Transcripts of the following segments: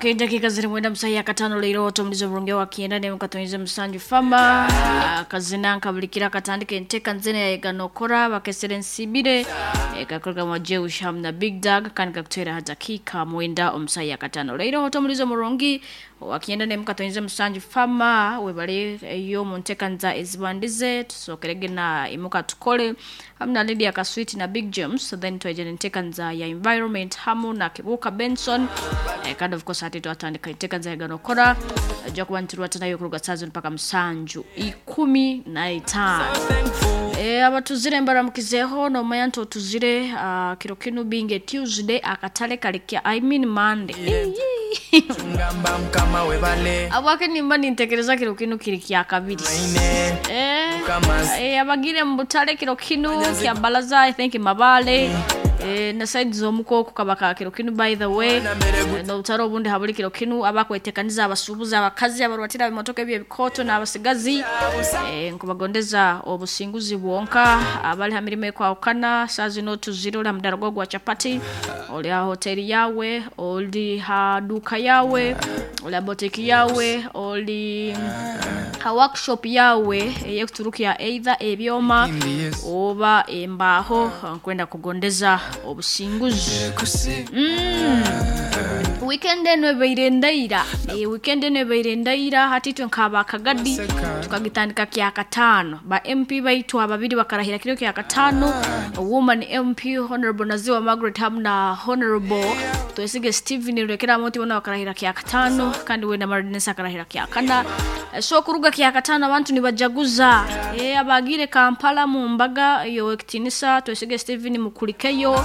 Okay, dakika ziri 9 ya katano leero otomulizo bulungi wa kienda ne mukatonyeze musanju fama kazina nkabulikira katandika enteka nzene yayeganokora bakesere nsibire kakorwa mu Jewish Ham na Big Dog kandi kakutera dakika 9 omusayi ya katano leero otomulizo mulungi wa kienda ne mukatonyeze musanju fama webale eyo mu nteka nza ezibandize tusokerege na imuka tukole hamna Lydia Kaswiti na Big James, then twejene nteka nza ya environment hamu na Kibuka Benson kandi of course ate twatandika enteka nza yaganokora ajja kuba ntirwatanayo kuruga saa mpaka musanju 15. Abatuzire mbaramukizeho nomanya nti otuzire kiro kinu binge Tuesday akatale kalikia I mean Monday. Abwake nimba nintekereza kiro kinu kiri kya kabiri. Abagire mubutale kiro kinu kya balaza I think mabale na side z'omukoko kabaka kiro kinu by the way n'obutare obundi habuli kiro kinu abakwetekaniza abasuubuzi abakazi abarwatira ebimotoka ebyo ebikoto n'abasigazi nkubagondeza obusinguzi bwonka abali ha mirimo ekwawukana saa zino tuzire oli ha mudara gwo gwa chapati oli ha hoteli yawe oli ha duka yawe oli ha botiki yawe oli ha workshop yawe eyekuturukya either ebyoma oba embaho nkwenda kugondeza obusinguzi. Weekend eno ebaire ndaira, weekend eno ebaire ndaira hati itwe nkaba akagadi tukagitandika kya katano ba MP baitu ababiri bakarahira kiro kya katano woman MP Honorable Naziwa Margaret hamu na Honorable Twesige Steven Rekera moti bona bakarahira kya katano kandi we na Marinesa akarahira kya kana. So kuruga kya katano abantu nibajaguza abagire Kampala mu mbaga yo ekitinisa Twesige Steven mukulikeyo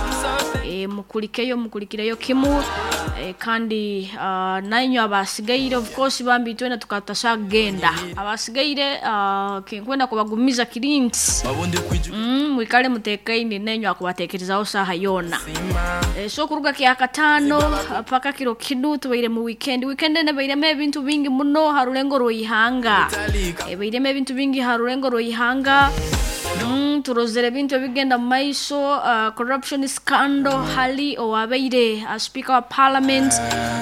mukulikeyo mukulikireyo kimu kandi nainyo abasigaire of course bambi twena tukatasha genda abasigaire kinkwenda kubagumiza kirinti mwikale mutekaine nenyo akubatekerezaho saha yona. So kuruga kya katano paka kiro kinu tubaire mu weekend nebairemo ebintu bingi muno harulengo rw'ihanga bairemo ebintu bingi harulengo rw'ihanga. Turozere ebintu ebigenda mu maiso corruption scandal hali owabaire speaker wa parliament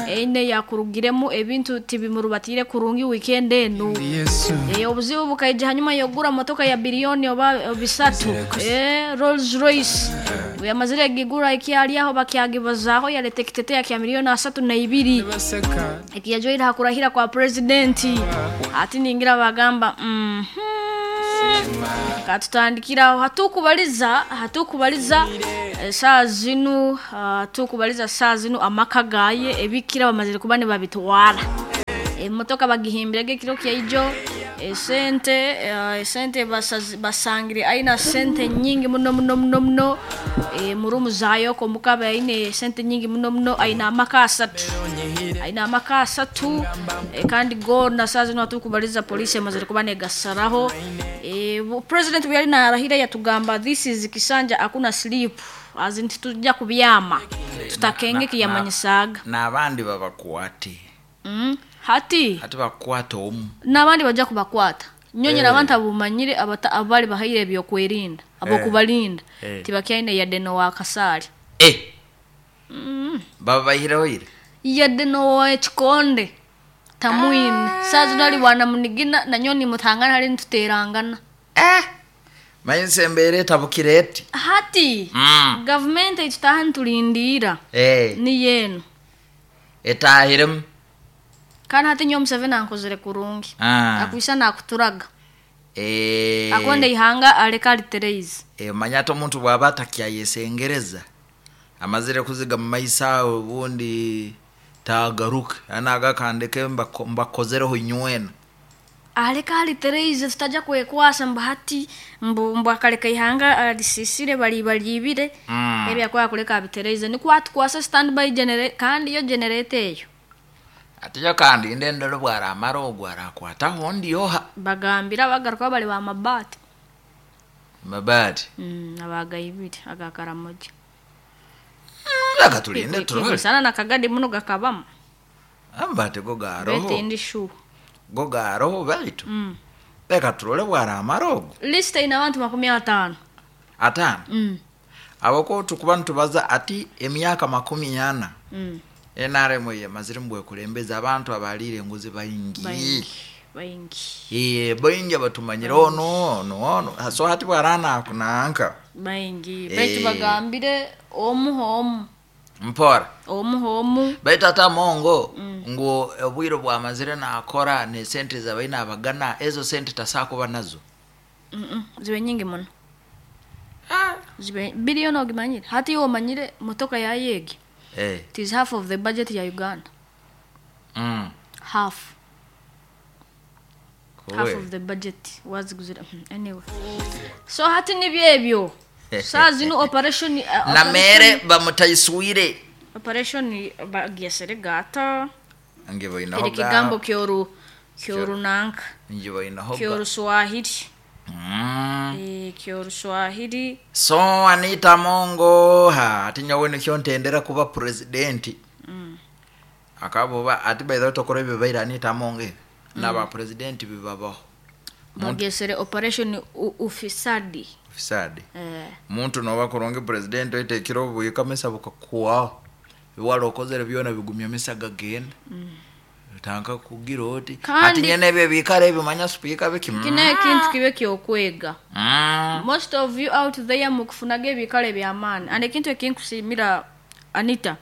ene yakurugiremu ebintu tibimurubatire kurungi weekend enu. Obuzibu bukaija hanyuma yogura motoka ya bilioni oba 3 Rolls Royce yamazire gigura ikyali aho bakyagibazaho yarete kitetea kya milioni 32 ekiyajoira hakurahira kwa president ati ningira bagamba katutandikira hatukubaliza saa zinu tukubaliza saa zinu amaka gaye ebikira bamazire kuba ne babitwara emotoka bagihimbirege kiro kya ijo sente basangire aina sente nyingi muno muno muno muno murumu zayo ko mukaba aine sente nyingi muno muno aina amaka asatu kandi go na saa zinu hatukubaliza polisi amazire kuba ne gasaraho. President we yali narahira yatugamba this is kisanja hakuna sleep azinti tujja kubyama tutakenge kiyamanyisaga n'abandi babakwate hati bakwata omu n'abandi bajja kubakwata nyonyera abantu abumanyire abali bahaire ebyokwerinda abokubalinda tibakyaine yadde no wa kasali baba bahireho ire yadde no wa ekikonde tamwine saa zino ali wana munigina na nyoni mutangana hali ntuterangana mayinse embere tabukireti hati government itutaha ntulindira ni yenu etahiremu kandi hati nyo Museveni ankozere kurungi akwisa nakuturaga akonde ihanga aleka alitereize manya ate omuntu bwaba atakyayesengereza amazire kuziga mu maiso obundi tagaruke anagakandeke mbakozereho nywena aleka alitereize tutajja kwekwasa mbu hati mbu akaleka ihanga alisisire bali balibire ebyakwaya kuleka abitereize nikwatukwasa standby generator kandi yo generator eyo atiyo kandi ndendero bwaramara ogwo arakwataho ndioha bagambira bagaruka bali ba mabati abagaibiri agakaramoja akatulinde turole sana nakagadi muno gakabamu ambate go garoho betendi shu go garoho baitu leka turole bwaramara ogwo list ina abantu 50 atano abako tukuba ntubaza ati emyaka 40 NRM yemazire mbwekulembeza abantu abaliire enguzi baingi. Baingi baingi. Baingi abatumanyire ono ono ono, so hati bwarana akunanka baingi. Baitu bagambire omu omu. Mpora. Omu omu. Baitu ate Amongo ngu obwire bwamazire nakora nesente zabaina abagana, ezo sente tasakuba nazo. Zibe nyingi muno. Zibe billion ogimanyire. Hati omanyire motoka ya yegi. It is half of the budget ya Uganda. Half. Half of the budget waziguzira. Anyway. So hati nibyebyo. Saa zino operation na mere bamutaiswire. Operation bagyesere gata. Nge bainaho ga. Kigambo kyoru kyorunanka. Nge bainaho ga. Kyoru Swahili. Kyoru Swahili. So Anita Amongo ha ati nyawe nikyo ntendera kuba president. Akaboba ati by the way tokora bibaira Anita Amongo. Na ba president bibabaho. Bagesere operation ufisadi. Ufisadi. Muntu noba kuronge president oitekiro buyika mesa bukakuwa. Biwalo okozere byona bigumya mesa gagenda. Tanka kugira oti. Ati nyene ebyo bikare ebimanya speaker biki. Kine ekintu kibe kyokwega. Most of you out there mukufunage ebikare bya maani. And ekintu ekinkusimira Anita.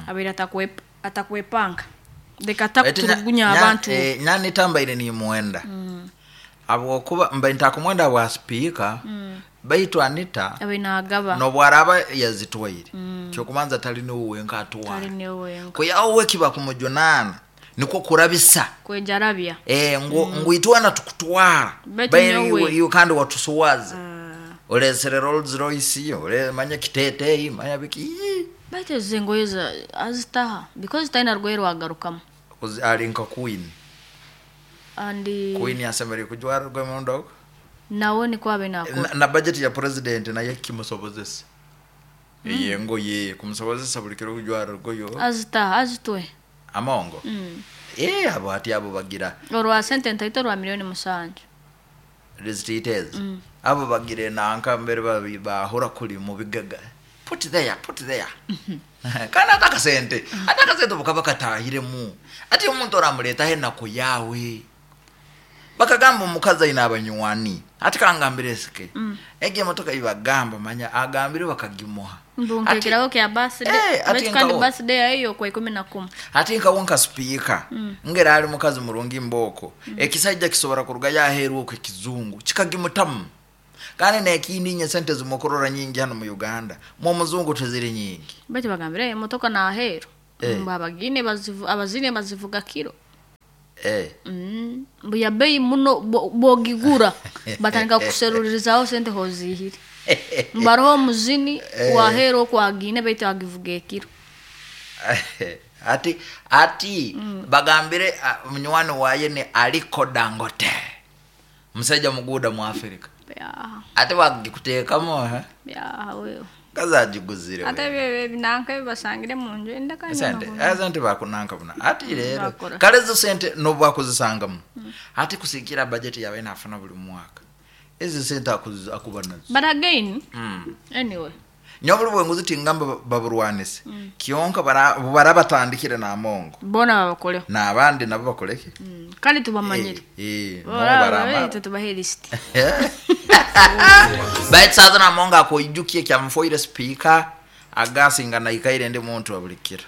Abeera atakwepanga. Leka takuturugunya abantu. Nyani tambaire ni muenda. Abo kuba mba ntakumwenda wa speaker. Baitu Anita abinagaba no bwaraba yazitwaire. Kyokumanza tali ni uwenka atwara. Tali ni uwenka. Kuyawe kiba kumujunana niko kurabisa. Kwejarabia. Nguitwana tukutwara. Bayi iyo kandi watusuwaza. Olesere Rolls Royce, ole manya kitete, manya biki. Baitu zengoyeza azitaha because taina rwero agarukamo. Ali nka queen. And queen yasemere kujwara rwemondo. Nawe ni kwabe nako. Na budget ya president naye kimusobozesa. Yengo ye kumusobozesa buli kiro kujwara rgoyo. Azitaha azitwe. Amongo. Abo ati abo bagira. Orwa sente ntaito rwa milioni 7. Rezititez. Abo bagire nanka mbere bahora kuli mu bigaga. Put there, put there. Kana ataka sente. Ataka sente bukaba katahiremu. Ati omuntu oramuleta he nako yawe. Bakagamba omukazi ayina abanywani. Ati kangambire sike. Ege motoka ibagamba manya agambire bakagimuha. Mbunkekeraho kya birthday. Ati kandi birthday eyo kwa 11. Ati nkawonka speaker. Ngera ali mukazi murungi mboko. Ekisajja kisobora kuruga yaheru okwe kizungu. Kikagimutamu. Kandi nekindi nye sente zimokorora nyingi hano mu Uganda. Mu muzungu teziri nyingi. Bati bagambire emotoka na ahero. Mbabagine abazine bazivuga kiro. Mbuya bei muno bogigura batanga kuserurizaho sente hozihiri. Mbaroho muzini wahero kwagine baitu agivuga kiro. Ati bagambire munywani waye ni Aliko Dangote. Musajja muguda mu Afrika. Ate bagikuteekamo ha? Ya wewe. Kazajiguzire. Ate bebe binanka basangire mu nju endaka sente. Sente bakunanka buna. Ati rero kale zo sente no bakuzisangamu. Ati kusikira budget yawe nafuna buli mwaka. Ezo sente akuba nazo. But again, anyway. Nyobuli bwenguzi tingamba baburwanise. Kionka barabatandikire na Amongo. Bona babakole. Na abandi nabo bakoleke. Kandi tubamanyire. Barama. Tubahe list. Baitu saza na Amongo akoijukie kya mfoire speaker agasinga na ikaire ndi muntu abulikira.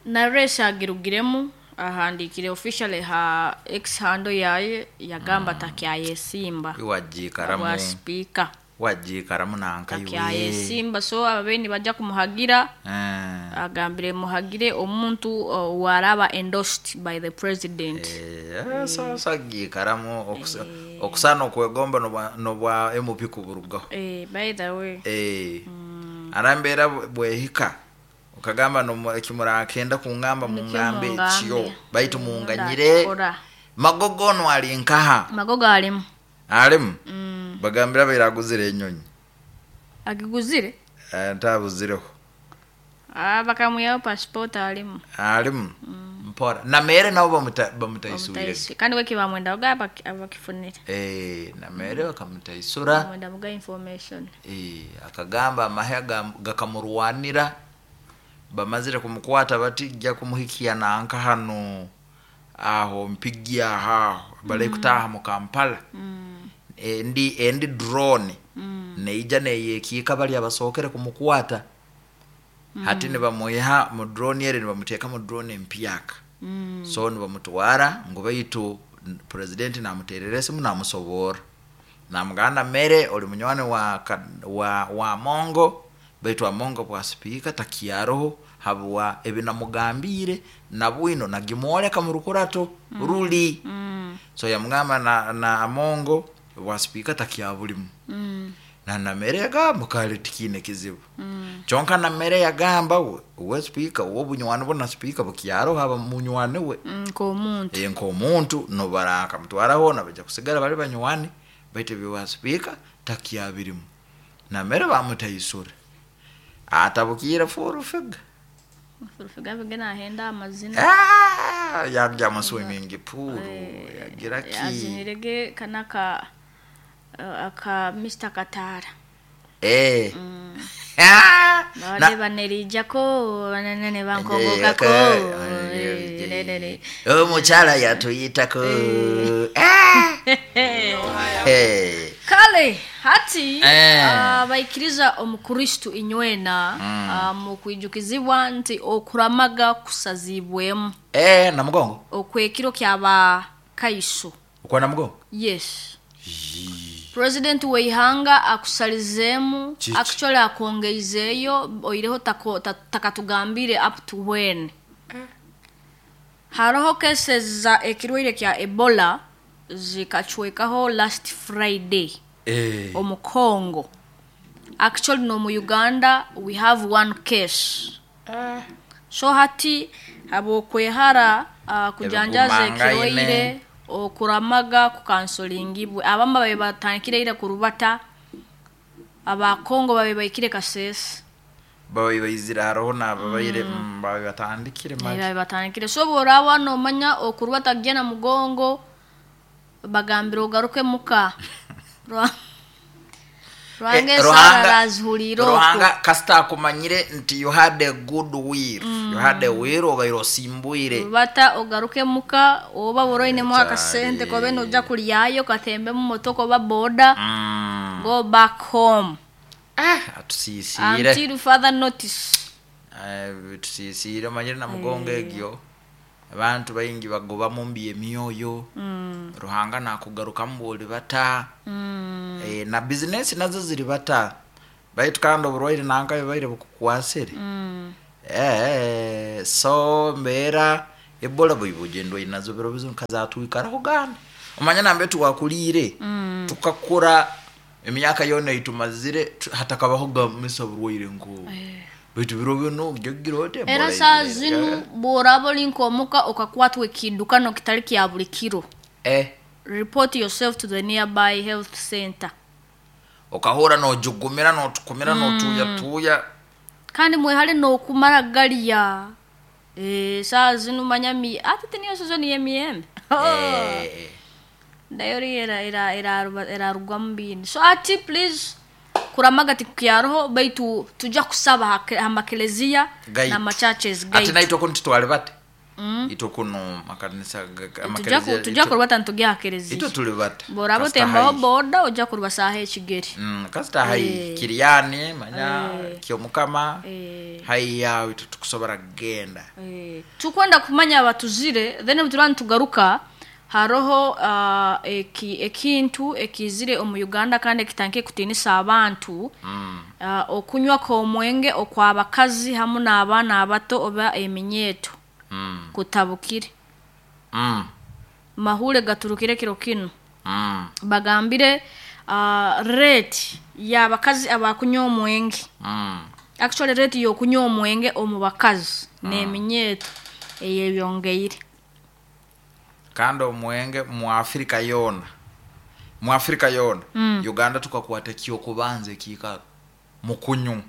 Na resa agirugiremu ahandikire officially ha X handle yaye yagamba takyayesimba. Iwajikaramu. Wa speaker. Wajikaramu nanka iwe. Takyayesimba so ababeni bajja kumuhagira. Agambire muhagire omuntu waraba endorsed by the president. So sagikaramu okusana okwegomba nobwa MP kuburugaho. By the way. Arambera bwehika ukagamba no ekimura akenda kungamba mungambe ekyo baitu munganyire. Magogo no ali nkaha. Magogo alimu. Alimu. Bagambira bairaguzire enyonyi. Agiguzire? Ntabuzireho. Bakamuyaho passport alimu. Alimu. Mpora. Na mere nabo bamutaisubire. Kandi weki bamwenda oga abakifunire. Na mere bakamutaisura. Bamwenda muga information. Akagamba amahe gakamurwanira. Bamazire kumukwata batijja kumuhikia nanka hano aho mpigia aho bali kutaha mu Kampala. Endi drone neija neyekiika bali abasookere kumukwata. Hati nibamuiha mu drone ere nibamuteeka mu drone empyaka. So nibamutwara ngu baitu president namuterera esimu namusoboora, namugamba mere oli munywani wa Amongo, baitu Amongo bwa sipiika takyaroho habwa ebinamugambiire na bwino nagimwoleka mu rukurato ruli. So yamugamba na Amongo bwa sipiika takyabulimu. Na Namere yagamba kale tikiine kizibu. Kyonka Namere yagamba we sipiika w'obunywani bwo na sipiika bukyaroho aba munywani we. Nk'omuntu. Nk'omuntu nobaraka mutwaraho nabaja kusigara bali banywani, baitu ebyo sipiika takyabirimu. Namere bamutaisura. Atabukire furufiga. Furufiga bigena ahenda amazina. Yagya mu swimming pool, yagira ki. Azinirege kanaka aka Mr. Katara. Bade banerijako banene bankogokako. Omukyala yatuyitako. Kale hati abaikiriza omukristu inywena mu kwijukizibwa nti okuramaga kusazibwemu. Na mugongo. Okwekiro kyaba kaiso. Okwa na mugongo? Yes. President weihanga akusalizemu, actually akongeizeyo oireho takatugambire up to when. Haroho cases za ekirwaire kya Ebola zikachwekaho last Friday. Omu Congo. Actually no mu Uganda we have one case. So hati abokwehara kujanjaza ekirwaire okuramaga kukansolingibwe. Abamba babe batangire ira kurubata, aba Congo babe baikire Kasese. Babe baizira haroho nababaire babe batandikire mali. Babe batandikire. So borawa no manya okurubata gena mugongo bagambira ogaruke muka. Ruhanga kasita akumanyire nti you had a good will. You had a will obaire osimbuire. Bata ogaruke muka oba boroine mu akasente kobe noja kulyayo katembe mu motoko oba boda. Go back home. Atusisire. Until further notice. Tusisire manyire na mugongo egyo. Abantu bayingi bagoba mu mbi emyoyo. Ruhanga nakugaruka mbuli bata. Na business nazo ziri bata. Baitu kandi oburwaire nanka bibaire bukukwasire. So mbera Ebola buyibugendo inazo biro bizo kazatwikaraho ganda. Omanya nambe tuwakulire. Tukakura emyaka yona itumazire hatakabaho gamisa burwaire nko. Baitu biro bino gyogirote. Era saa zinu borabo linkomuka okakwatwe kidukano kitali kya buli kiro. Report yourself to the nearby health center. Okahura nojugumira notukumira notuya tuya. Kandi mwehale nokumara galiya. Saa zinu manyami ati teniyo season yemiyembe. Dayori era rugambini. So ati please kuramaga tikyaroho baitu tujja kusaba hamakelezia na machurches gaitu. Ati naitwa kuno tutwale bate. Itwa kuno makanisa amakelezia. Tujja kurubata ntugya kelezia. Itwa tuli bate. Borabo temba boda ojja kuruba saha ekigeri. Kasita hai Kiriani manya Kyomukama. Hai yawe tukusobora genda. Tukwenda kumanya abatuzire then mutulani tugaruka. Haroho ekintu ekizire omu Uganda kandi ekitanke kutinisa abantu. Okunywa kw'omwenge okw'abakazi hamu n'abaana abato oba eminyeeto. Kutabukire. Mahure gaturukire kiro kino. Bagambire rate y'abakazi abakunywa omwenge. Actually rate y'okunywa omwenge omu bakazi n'eminyeeto eyebyongeire. Kandi omwenge mu Afrika yona. Mu Afrika yona. Uganda tukakwata kyokubanza ekikaro mukunyu.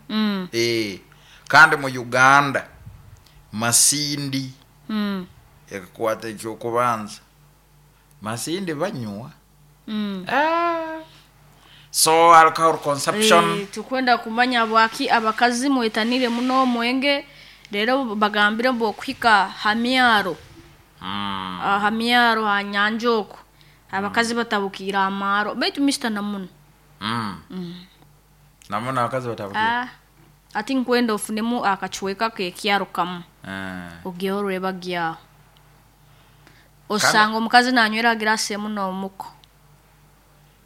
Kandi mu Uganda Masindi ekakwata ekyokubanza. Masindi banywa. So alcohol consumption. Tukwenda kumanya bwaki abakazi mwetanire muno omwenge. Rero bagambire mbu okuhika ha myaro, ha myaro ha nyanja oku abakazi batabukiire amaaro, baitu Mr. Namuno. Namuno abakazi batabukire. Ah, ati nkwenda ofunemu akacweka k'ekyaro kamu, ogiyeho orwebagyaho, osanga omukazi nanywera ha girasi emu n'omuko,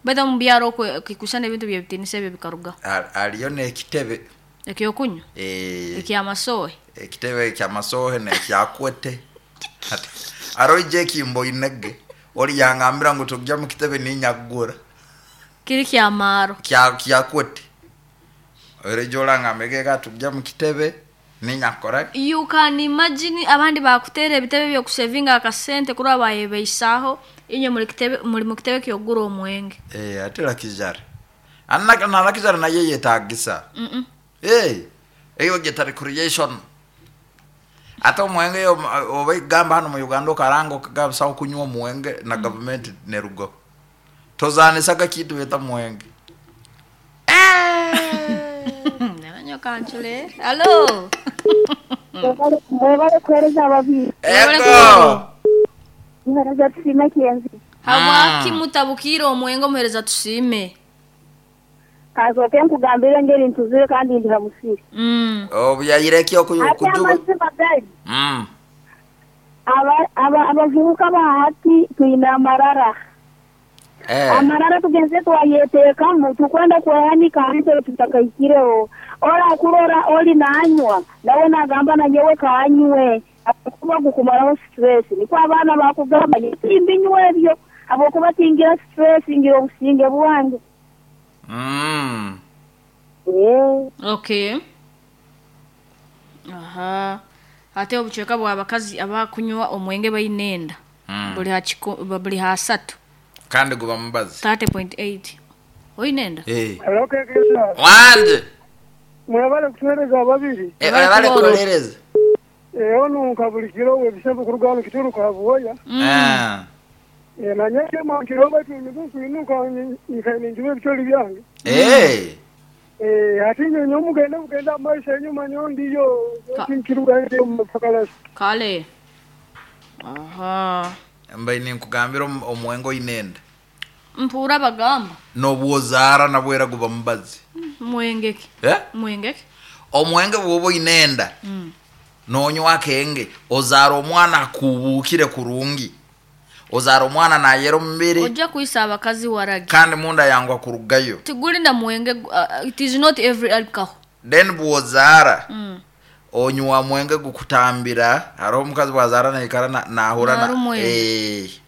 baitu omu byaro okwe kikusana ebintu by'ebitiinisa ebyo bikarugaho. Hariyo n'ekitebe. Ekyokunywa? Eh. Ekyamasohe? Ekitebe kyamasohe nekyakwete. Haro ije ekimboinege ori yangambira ngu tujja mu kitebe ninyakugura. Kiri kyamaaro? Kyakwete ori orangambira geka tujja mu kitebe ninyakukora. You can imagine abandi bakutera ebitebe by'okusevinga akasente kuraba bayebeisaho, inywe muri kitebe, muri mu kitebe ky'okugura omwenge. Eh, ate lakijara anna na lakijara naye yetagisa. Eh, eyo geta recreation. Ate omwenge oba igamba hano mu Uganda okaranga okagabisa okunywa omwenge na gavumenti nerugo tozanisaga kintu beta mwenge. Nanyoka ncule alo. Mwebale kuhereza ababiri. Ego. Muhereza Tusiime Kyenzi. Habwaki mutabukire omwenge, omuhereza Tusiime? Kansooke nkugambire engeri ntuzire kandi ndi ha musiri. Obuyayire ki Ate okujuba? Amazima gali, abavubuka ba hati twine amarara. Amarara tugenze twayeteekamu, tukwenda kwehanika hansi tutakahikireho. Orakurora oli nanywa nawe nagamba nanyewe kanywe kuba gukumaraho stress, nikwo abaana bakugamba timbinywa ebyo habwokuba tingira stress, ngira obusinge bwange. Eh. Okay, aha, ate obucweka bw'abakazi abakunywa omwenge baine enda buli ha buli ha 30. Kandi guba mubazi. 30.8 oine enda. Eh. Halo, Kekesa. Wanje. Mwebale kutuhereza ababiri. Eh, bale kulereza. Ono nka buli kiro ebisembo kuruga hano kituruka habuhoya. Nanye mankiro baitu nikuinuka nikaninjuba ebitoli byange. Ati nyo mugende mugende amaisha enyuma nyo ndiyo nkiruga ndiyo mupakalasi. Kale, aha. Mbaine ninkugambira omwenge oine enda. Mpuura bagamba. Nobwozaara nabwera guba mubazi. Mwengeki? Eh? Mwengeki? Omwenge bwoba oine enda, nonywa akenge ozaara omwana akubuukire kurungi, ozaara omwana nayera omubiri. Ojja kwisa abakazi waragi. Kandi munda yangwa kurugayo. Tiguli na mwenge, it is not every alcohol. Then bwozaara onywa mwenge gukutambira, hariho omukazi bwazaara naikara nahura Narumwa enda. Eh.